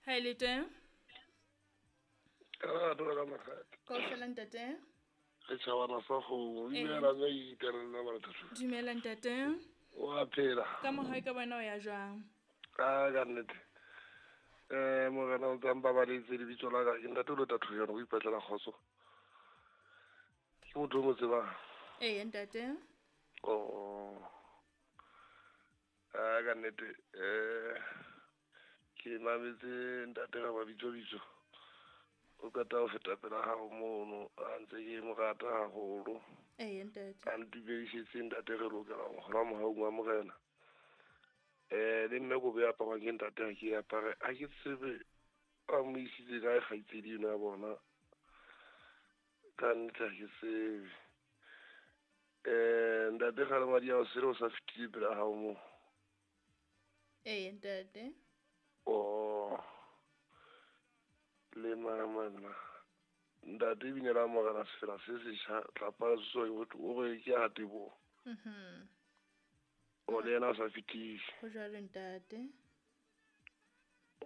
Ha e le teng. Kaofela ntate. Re tjhabana sa kgomo. Dumela mme ke itela nna marathathu. Dumela ntate. O a phela. Ka mohau ka bona o ya jwang? A ka nnete. Morena o tsang babaletse lebitso la ka ke ntate o lo tatho yona o ipatlela kgotso. Ke motho o mo tsebang. Ee ntate. Oh. A ka nnete ke mametse ntate ga mabitso bitso. O qeta ho feta pela hao mono a ntse ke mo rata haholo. Ee ntate. A ntumedisitse ntate re lokela ho kgola mohaung wa morena. Le mme kobo e aparwang ke ntate ha ke e apare ha ke tsebe a mo isitse kae kgaitsedi eno ya bona. Ka nnete ha ke tsebe. Ntate kgale madi ao sele o sa fetile pela hao moo. Ee ntate. Oh. Le mama ntate binela morena sefela se setjha tlapa so o re ke a tebo. Mhm. O le yena a sa fetile. Ho jwalo ntate.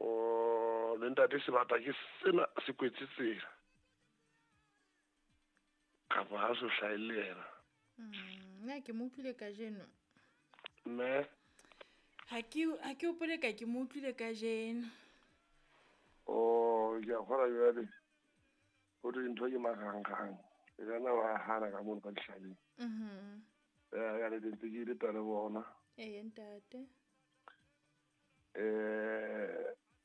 O le ntate sebata ke sena se kwetse tsela. Kapa ha so hlahe le yena. Nna ke mo utlwile kajeno. Mme Ha ke hopole ka ke mo utlwile kajeno. Oh, ke a kgona jwale. Ho thwe dintho ke marangrang. E ka nna wa hana ka mono ka dihlabeng. Mhm. Ya le ntse ke ile tla le bona. Ee ntate.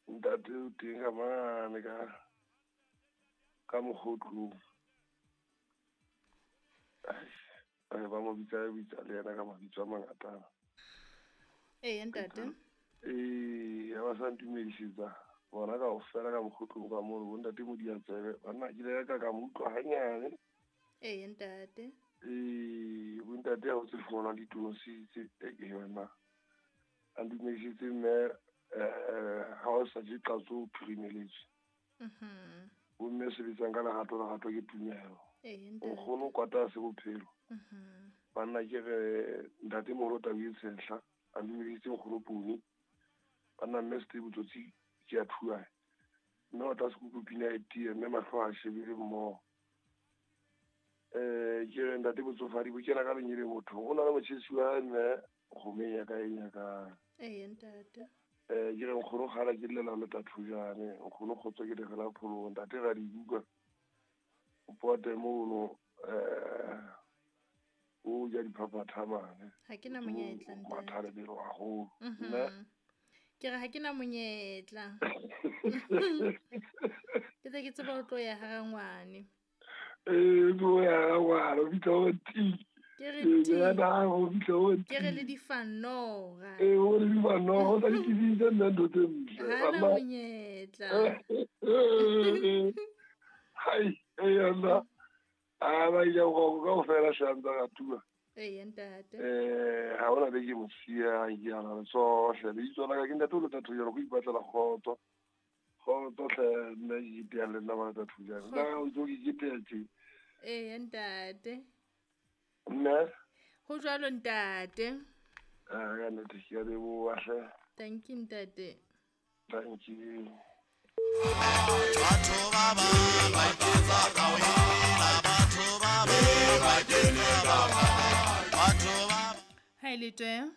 Ntate o teng ka mane ka mokgotlong. Ba mo bitsa bitsa le yena ka mabitso a mangata. Ee ntate. Ba sa ntumedisetsa. Bona kaofela ka mokgotlong ka mono bo ntate Modiantsebe. Banna ke ile ka mo utlwa hanyane. Ee ntate. Bo ntate ha o tse fumana ditonositse e yona. A ntumedisitse mme ha o sa je qatso o phirimeletswe. Mhm. Bo mme sebetsang ka lerato lerato ke tumelo. Ee ntate. Nkgono kwata se bophelo. Mhm. Banna ke re ntate moholo Tabi Tshehla a ntumedisitse nkgono Poni. Banna mme Steve Tsotsi ke a thua. Mme o tla se kuku pina e tiye mme mahlo a shebile mmoho. Ke re ntate botsofadi bo kena ka lenyele motho. O na le motjhesi wa hae mme kgomeng ya ka e nyakang. Ee ntate. Ke re nkgono kgala ke llela le tathojane. Nkgono kgotso ke legela pholong. Ntate ra di utlwa. O pote mono o ja diphaphatha mane. Ha ke na monyetla ntate. Matha lebelo haholo. Mhm. Ke re ha ke na monyetla. Ke tse ke tseba ho tlo ya ha rangwane. Tlo ya ha rangwane, o fihla o ti. Ke re ti. Ya na, o fihla o ti. Ke re le difanora. O le difanora, o sa di tsebise nna ntho tse ntle. Ha na monyetla. Hai, nna. A ba ile go kaofela hlantsa ka tua. Ee ntate. Ha hona be ke mo siya ke ana le tsohle. Lebitso la ka ke ntate o lo tatho jalo go ipatlela kgotso. Kgotso hle nna ke itea le nna ba tatho jalo. Nna o tlo ke itea tje. Ee ntate. Mme Ho jwalo ntate. Ka nnete ke a leboha hle. Thank you ntate. Thank you. Batho ba bang ba iketsa ka wena, batho ba bang ba kene ba bang. Batho ba Ha e le teng.